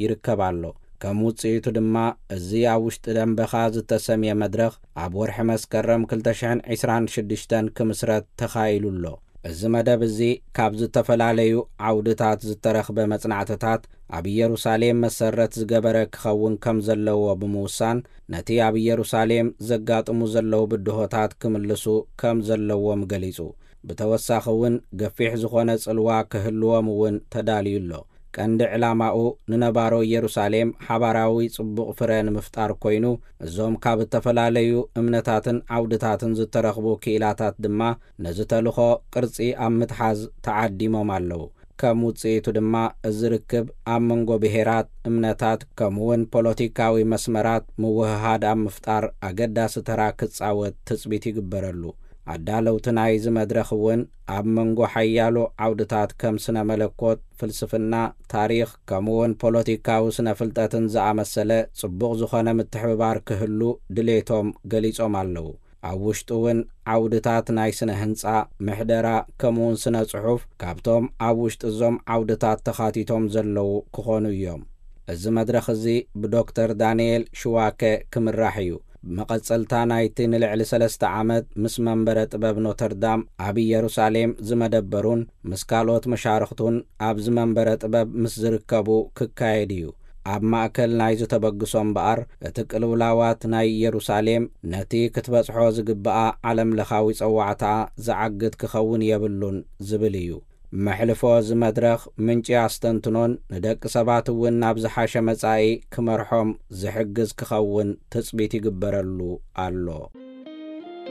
ይርከብ ኣሎ። ከም ውጽኢቱ ድማ፣ እዚ ኣብ ውሽጢ ደንበኻ ዝተሰምየ መድረኽ ኣብ ወርሒ መስከረም ክልተ ሽሕን ዕስራን ሽዱሽተን ክምስረት ተኻኢሉ ኣሎ። እዚ መደብ እዚ ካብ ዝተፈላለዩ ዓውድታት ዝተረኽበ መጽናዕትታት ኣብ ኢየሩሳሌም መሰረት ዝገበረ ክኸውን ከም ዘለዎ ብምውሳን፣ ነቲ ኣብ ኢየሩሳሌም ዘጋጥሙ ዘለዉ ብድሆታት ክምልሱ ከም ዘለዎም ገሊጹ። ብተወሳኺ እውን፣ ገፊሕ ዝኾነ ጽልዋ ክህልዎም እውን ተዳልዩ ኣሎ። ቀንዲ ዕላማኡ፣ ንነባሮ ኢየሩሳሌም ሓባራዊ ጽቡቕ ፍረ ንምፍጣር ኮይኑ፣ እዞም ካብ እተፈላለዩ እምነታትን ዓውድታትን ዝተረኽቡ ክኢላታት ድማ ነዚ ተልኾ ቅርጺ ኣብ ምትሓዝ ተዓዲሞም ኣለዉ። ከም ውጽኢቱ ድማ፣ እዚ ርክብ ኣብ መንጎ ብሄራት፣ እምነታት፣ ከምኡውን ፖለቲካዊ መስመራት ምውህሃድ ኣብ ምፍጣር ኣገዳሲ ተራ ክጻወት ትጽቢት ይግበረሉ። ኣዳለውቲ ናይዚ መድረኽ እውን፣ ኣብ መንጎ ሓያሎ ዓውድታት ከም ስነ መለኮት፣ ፍልስፍና፣ ታሪኽ፣ ከምኡውን ፖለቲካዊ ስነ ፍልጠትን ዝኣመሰለ ጽቡቕ ዝኾነ ምትሕብባር ክህሉ ድሌቶም ገሊጾም ኣለዉ። ኣብ ውሽጡ እውን ዓውድታት ናይ ስነ ህንጻ፣ ምሕደራ፣ ከምኡውን ስነ ጽሑፍ፣ ካብቶም ኣብ ውሽጢ እዞም ዓውድታት ተኻቲቶም ዘለዉ ክኾኑ እዮም። እዚ መድረኽ እዚ ብዶክተር ዳንኤል ሽዋከ ክምራሕ እዩ። ብመቐጸልታ ናይቲ ንልዕሊ ሰለስተ ዓመት ምስ መንበረ ጥበብ ኖተርዳም ኣብ ኢየሩሳሌም ዝመደበሩን ምስ ካልኦት መሻርኽቱን ኣብዚ መንበረ ጥበብ ምስ ዝርከቡ ክካየድ እዩ። ኣብ ማእከል ናይዚ ተበግሶ እምበኣር፣ እቲ ቅልውላዋት ናይ ኢየሩሳሌም ነቲ ክትበጽሖ ዝግብኣ ዓለምለኻዊ ጸዋዕታኣ ዝዓግት ክኸውን የብሉን ዝብል እዩ። መሕልፎ እዚ መድረኽ፣ ምንጪ ኣስተንትኖን ንደቂ ሰባት እውን ናብ ዝሓሸ መጻኢ ክመርሖም ዝሕግዝ ክኸውን ትጽቢት ይግበረሉ ኣሎ።